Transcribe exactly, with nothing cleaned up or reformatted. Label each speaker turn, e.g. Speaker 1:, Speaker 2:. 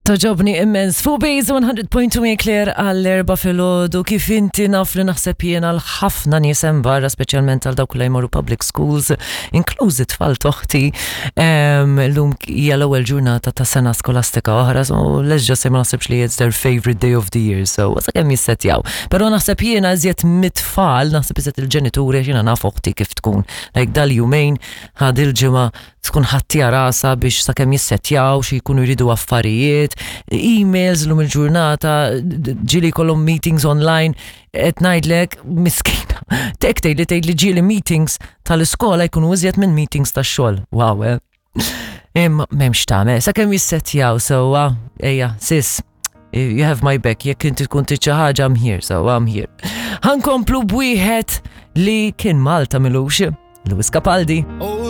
Speaker 1: Togħġobni immens. Fuq Base one hundred point two Claire għall-erbgħa filgħodu. Kif inti naf li naħseb jiena l-ħafna nies hemm barra, speċjalment għal dawk li jmorru public schools, inklużi tfal t'oħti. Illum hija l-ewwel ġurnata ta' sena skolastika oħra, so let's just say ma naħsebx li it's their favorite day of the year, so sakemm jissetjaw. Però naħseb jiena iżjed mit-tfal, naħseb iżjed il-ġenituri, jiena naf oħti kif tkun. Like dal-jumejn, ħad il-ġimgħa tkun ħattija rasa biex sakemm jissetjaw xi jkunu jridu affarijiet, emails l-lum il-ġurnata, ġieli kollhom meetings online, qed ngħidlek miskina. Tek tgħid li tgħid li ġieli meetings tal-iskola jkunu iżjed minn meetings tax-xogħol. Wow, eh? Imma m'hemmx tagħmel, sakemm jissetjaw sewwa, ejja, sis, you have my back, jekk inti tkun trid xi ħaġa, I'm here, so I'm here. Ħa nkomplu b'wieħed li kien Malta m'ilux, Lewis Capaldi.
Speaker 2: Oh.